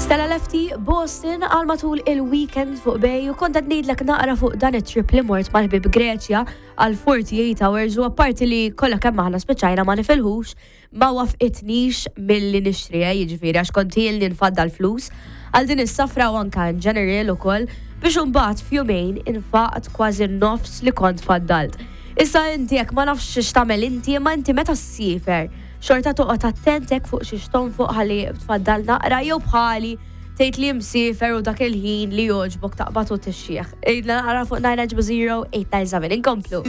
Stella Lefty, Boston għal matul il-weekend fuq Bay u kont qed ngħidlek naqra fuq dan it-trip li mort mal-ħbib Greċja għal 48 hours u apparti li kollha kemm aħna spiċċajna ma nifilħux ma wafqitnix milli nixtri, eh, jiġifieri għax kont ilni nfaddal flus għal din is-safra u anka in general ukoll biex imbagħad f'jumejn infaqt kważi nofs li kont faddalt. Issa inti jekk ma nafx x'tagħmel inti, imma inti meta ssiefer, xorta toqgħod attent hekk fuq xiex tonfoq ħalli tfaddal naqra jew bħali tgħid li msiefer u dak il-ħin li jogħġbok taqbad u tixjieħ. Għidna naqra fuq 9 0 897 inkomplu.